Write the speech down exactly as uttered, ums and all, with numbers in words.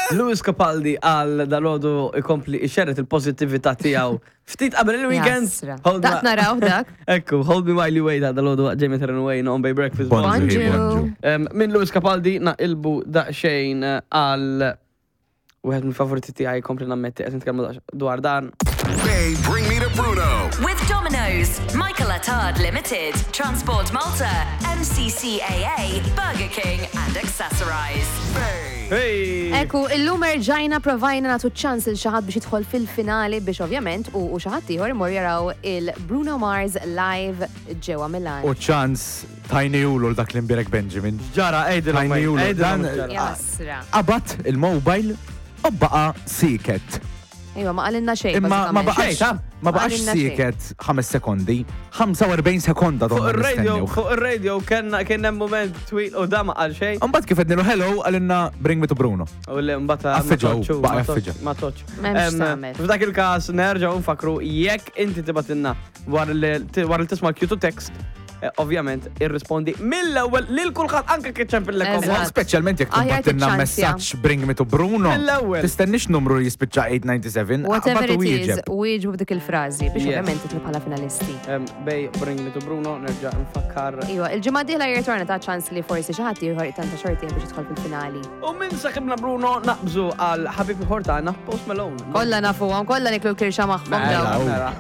Lewis Capaldi għal dalgħodu ikompli ixerred il-pozittività tiegħu. Ftit qabel il-weekend. Jasra. Hold Dak ma- naraw dak. Ekku, Hold Me While You Wait għal dalgħodu waqt Jamie Terran Wayne on Bay Breakfast. Bonġu, Bonġu. bonġu. Em, Minn Lewis Capaldi naqilbu daqsxejn eh, għal wieħed mill-favoriti tiegħi, kompli nammetti qed nitkellmu daqs- dwar dan. Bay, bring me to Bruno. With Domino's, Michael Attard Limited, Transport Malta, M C C A A, Burger King, and Accessorize. Bay. Hey! Ekku, illum erġajna provajna nagħtu ċans lil xi ħadd biex jidħol fil-finali biex ovvjament u u xi ħadd ieħor imur jaraw il-Bruno Mars live ġewwa Milan. U ċans tajniehulu dak l-imbierek Benjamin. Ġara, għidilhom. Tajniehulu. Għidilhom Dan- ġara. Jasra. Qabad il-mobile u baqa sieket. Iva, ma qalilna xejn. Imma ma bażikament. baqax, ta' ma baqax Qalilna xejn. sieket ħames sekondi, ħamsa u erbgħin sekonda Fuq donna il-radio, nistennew. fuq il-radio kien kien hemm moment twil u da ma qal xejn. Mbagħad kif għednilu hello, qalilna "Bring me to Bruno." U li mbagħad ma Affeġaw, toċċu, baqa' ma toċ- jaffeġa. Ma toċ. M'hemmx Em, tagħmel. F'dak il-każ nerġgħu nfakru jekk inti tibgħatilna wara li wara li tisma' l-Q to text, eh, ovvjament irrispondi mill-ewwel lil kulħadd anke kif ċempillek. Eżatt. Speċjalment jekk Aħjar tibgħatilna tiċċansja. messaġġ "Bring me to Bruno". Mill-ewwel. Tistennix numru li jispiċċa tmien seba' tnejn. Whatever Qabad u it is, wieġeb. wieġbu b'dik il-frażi biex Yes. ovvjament titlu bħala finalisti. Em, Bay, Bring Me to Bruno, nerġa' nfakkar. Iwa, il-ġimgħa dieħla jirtorna ta' ċans li forsi xi ħadd ieħor tanta xorti biex jidħol fil-finali. U minn saħibna Bruno naqbżu għal ħabib ieħor tagħna, Post Malone. Kollha nafuhom, kollha niklu l-kirxa magħhom Mela, dawn. mela.